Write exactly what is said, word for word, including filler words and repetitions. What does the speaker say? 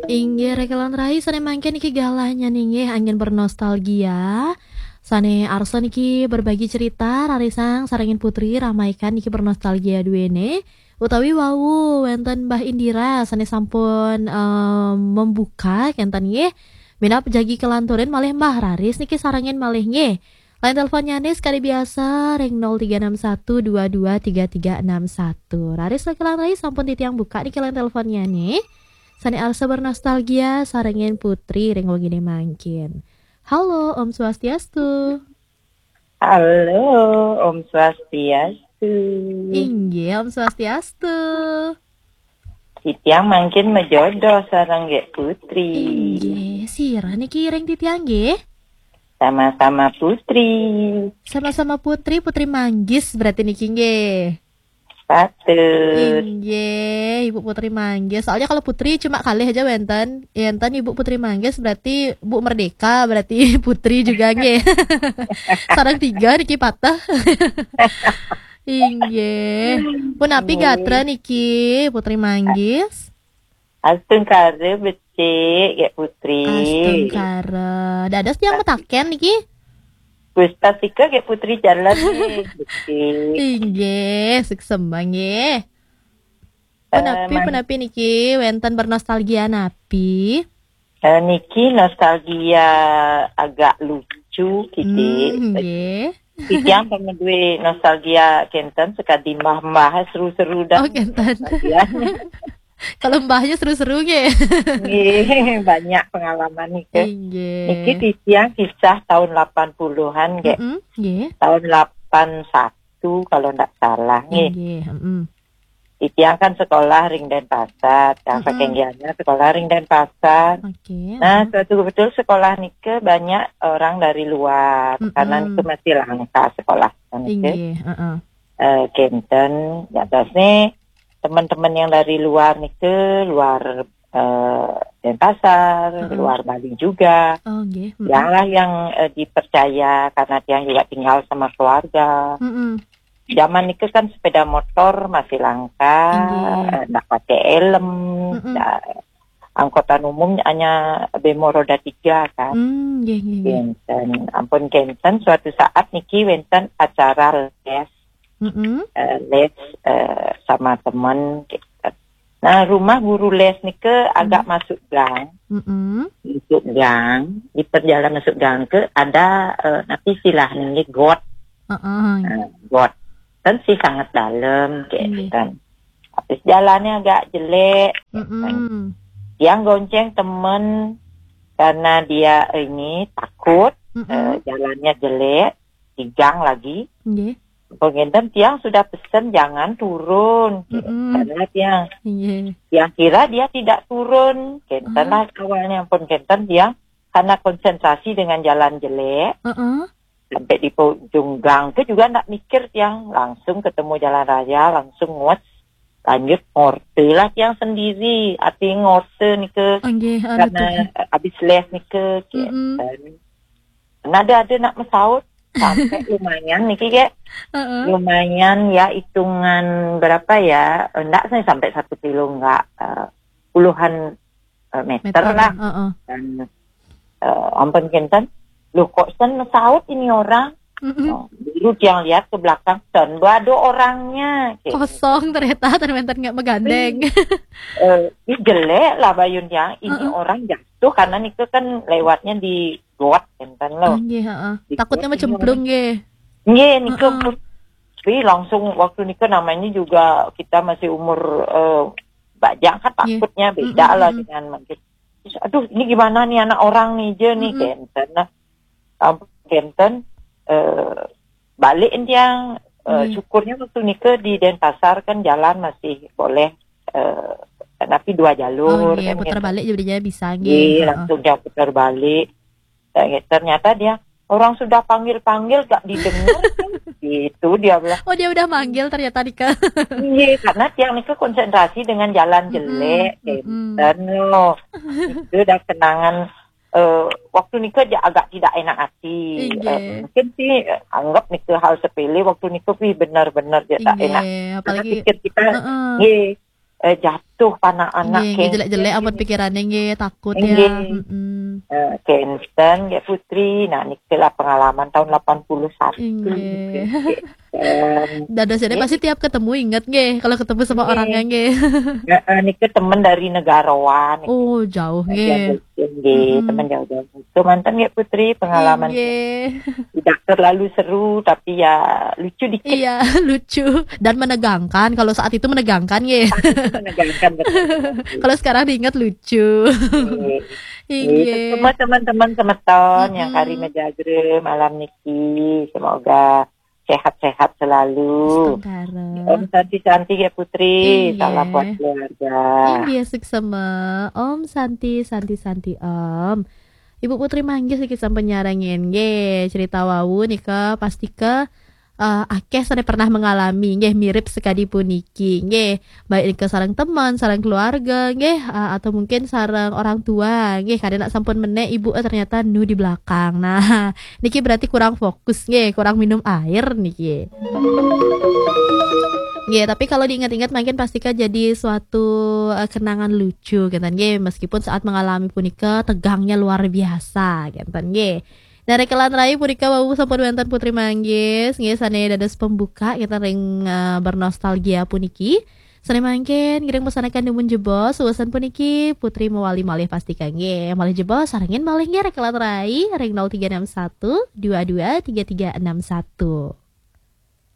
Inggih, Rek lan Rai, sané mangkin niki galahnya niki anggén bernostalgia. Sané arsa niki berbagi cerita, rarisang sarengin Putri ramaikan niki bernostalgia duéné. Utawi wau wénten Mbah Indira sané sampun, em, membuka kénten nggih. Minab jagi kelanturin malih Mbah, raris niki sarengin malih nggih. Line teleponnya nih sekali biasa ring nol tiga enam satu dua dua tiga tiga enam satu. Raris Rek lan Rai, sampun titiang buka niki line teleponnya nih. Sané arsa bernostalgia sarengin Putri ring wenginé mangkin. Halo, Om Swastiastu. Halo, Om Swastiastu. Inggih, Om Swastiastu. Titiang mangkin majodoh sareng Gék Putri. Inggih, sira niki ring titiang nggih? Sama-sama Putri. Sama-sama Putri, Putri Manggis berarti niki nggih. Patut. Inggih, Ibu Putri Manggis. Soalnya kalau Putri cuma kalih aja wénten. Wénten Ibu Putri Manggis berarti Bu Merdeka, berarti Putri juga nggih. Sareng tiga niki patah. Inggih. Punapi Nggih. Gatra niki, Putri Manggis? Astungkara becik, Gék Putri. Astungkara. Dados tiang metaken niki? Pustastika Gék Putri jalan nih, becik. Inggih, suksema nggih. Eh, Punapi, man- punapi niki wénten bernostalgia napi? Eh, niki nostalgia agak lucu, Kidik. Hmm, nggih. Titiang pernah duwe nostalgia kénten sekadi mbah-mbah seru-seru dah. Oh, kénten. Nostalgia. Kalau mbahnya seru-seru nggih. Nggih, banyak pengalaman niki. Inggih. Niki titiang kisah tahun lapan puluhan, Gék. Mm-mm, nggih. Tahun lapan satu kalau ndak salah nggih. Inggih, mm-mm. Titiang kan sekolah ring Denpasar, yang Mm-mm. saking Gianyar sekolah ring Denpasar. Oke, Nah, mm-mm. suatu betul sekolah nike banyak orang dari luar, Mm-mm. karena nike masih langka sekolah nike. Inggih, heeh. Eh, kénten, ya, biasanya teman-teman yang dari luar nike, luar, eh, Denpasar, Mm-mm. luar Bali juga. Oh, nggih, mm-mm. Dialah yang, eh, dipercaya karena tiang juga tinggal sama keluarga. Mm-mm. Zaman nike kan sepeda motor masih langka, Inggih. eh, ndak pakai helm, Mm-mm. ndak, angkutan umum hanya bemo roda tiga kan. Hmm, nggih, nggih, nggih. Kénten, ampun kénten, suatu saat niki wénten acara les, Mm-mm. eh, les, eh, sama teman, kénten. Nah, rumah guru les nike agak Mm. masuk gang. Mm-mm. Masuk gang, di perjalanan masuk gang ke ada, eh, napi istilah niki got. Heeh. Nah, got. Kan sih sangat dalam, Nggih. kénten. Habis jalannya agak jelek, kénten. Mm-mm. Tiang gonceng temen karena dia ini takut, Mm-mm. eh, jalannya jelek, di gang lagi. Nggih. Ampun kénten tiang sudah pesen jangan turun. Mm-mm. Karena tiang, Nggih. tiang kira dia tidak turun. Kénten Ah. lah awalnya, ampun kénten tiang karena konsentrasi dengan jalan jelek. Heeh. Sampai di ujung gang ke juga ndak mikir tiang, langsung ketemu jalan raya, langsung ngos. Lanjut ngorte lah tiang sendiri. Arti ngorte nike Oh, nggih, anu karena tuh. habis les nike, Mm-mm. kénten. Nada ada nak mesaut sampai lumayan niki, Gék. Heeh. Lumayan ya, hitungan berapa ya? Enggak sih sampai satu kilo, enggak. Eh, puluhan, eh, meter Meter, lah. heeh. Dan, eh, ampun kénten, loh, kok sen mesaut ini orang? Mm-mm. Oh, dulu tiang lihat ke belakang, sen, ndak ada orangnya. Kayak Kosong ternyata, ternyata nggak megandeng. Eh, ih, jelek lah bayun tiang. Ini Heeh. orang jatuh karena nike kan lewatnya di got, kénten loh. Ah, nggih, heeh. Di Takutnya got ini mecemplung, orang. nggih. Nggih, nike Heeh. pun. Tapi langsung waktu nike namanya juga kita masih umur, eh, bajang kan Nggih. takutnya beda Mm-mm, lah mm-mm. dengan mungkin. Terus, aduh, ini gimana nih anak orang nih, je nih, Mm-mm. kénten. Nah, ampun kénten, eh, balik tiang, eh, Nggih. syukurnya waktu nike di Denpasar kan jalan masih boleh, eh, tapi dua jalur, Oh, nggih, kan putar gitu. balik jadinya bisa, nggih. Nggih, Heeh. langsung dia putar balik. Dan ternyata dia, orang sudah panggil-panggil gak didengar, kan? Gitu dia bilang. Oh, dia udah manggil ternyata, Dika. Iya, karena tiang nike konsentrasi dengan jalan Mm-mm, jelek, mm-mm. kénten loh. Itu udah kenangan, eh, waktu nike aja agak tidak enak hati. Inggih. Eh, mungkin sih, eh, anggap nike hal sepele, waktu nike wih benar-benar dia tak Inggih, enak. Karena apalagi pikir kita, Heeh. nggih, eh, jatuh anak-anak Nggih, cancer jelek-jelek amat gitu. Pikirannya nggih, takut ya. Nggih. Mm-mm. Eh, cancer nggih Putri. Nah, niki lah pengalaman tahun delapan puluh satu. Nggih. Em, Dados ini Nggih. Pasti tiap ketemu inget nggih, kalau ketemu sama Nggih. Orangnya nggih. eh, eh, niki teman dari Negarawan. Oh, jauh nggih. Nggih, Mm-mm. Teman jauh-jauh. Itu mantan nggih Putri, pengalaman Nggih. Tidak terlalu seru, tapi ya lucu dikit. Iya, lucu dan menegangkan. Kalau saat itu menegangkan nggih. Menegangkan betul. Kalau sekarang diingat lucu. Nggih. Nggih. Nggih, semua teman-teman semeton yang Mm-mm. kari mejagra malam niki, semoga sehat-sehat selalu. Astungkara. Om Santi Santi ya Putri, Iya. Salam buat keluarga. Inggih, suksema. Om Santi, Santi, Santi, Om. Ibu Putri manggih sedikit sampun nyarengin nggih, cerita wau nika pastika eh, akeh sane pernah mengalami nggih, mirip sekadi puniki nggih, baik nika sareng teman, sareng keluarga nggih, eh, atau mungkin sareng orang tua nggih, kadang nak sampun menek ibu eh, ternyata nu di belakang. Nah, niki berarti kurang fokus nggih, kurang minum air niki. Nggih, tapi kalau diingat-ingat mungkin pastika jadi suatu eh, kenangan lucu gitu nggih, meskipun saat mengalami punika tegangnya luar biasa gitu nggih. Nah, rekelan rai punika wau sampun wonten Putri Manggis nggih, sane dados pembuka kita ring eh, bernostalgia puniki. Sane mangkin ngiring pesanakan dumun jebos, uwasan puniki Putri mewali malih pastika nggih. Malih jebos sarengin malih nggih rekelan rai ring nol tiga enam satu dua dua tiga tiga enam satu.